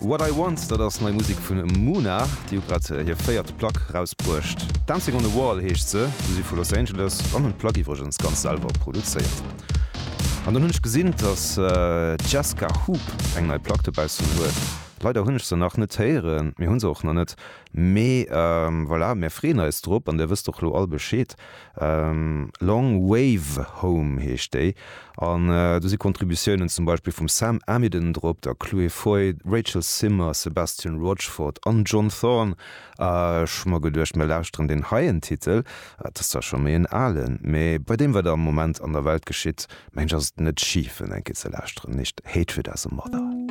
What I Want, dat ass nei Musek vun Muna. Déi hu grad hir véiert Plack rausbruecht. Dancing on the Wall heescht se. Si si vu Los Angeles an hunn d'Plack iwwregens ganz selwer produzéiert. An dann hunn ech gesinn, dass d'Jesca Hoop eng nei Plack dobaussen huet. Leider hunn ech se nach net héieren, mir hu se och nach net, mee voilà, mär freeën eis drop an där wësst och lo all Bescheed. Long Wave Home heescht déi an do si Contributiounen zum Beispill vum Sam Amidon drop, der Chloé Foy, Rachel Zimmer, Sebastian Rochford an John Thorne. Ech hu mer geduecht, mir lauschteren deen heien Titel, et ass zwar scho méi en alen, mee bei deem wat am Moment an der Welt geschitt, mengen ech ass et net schif en eng Kéier ze lauschteren, heescht Hatred as a Mother.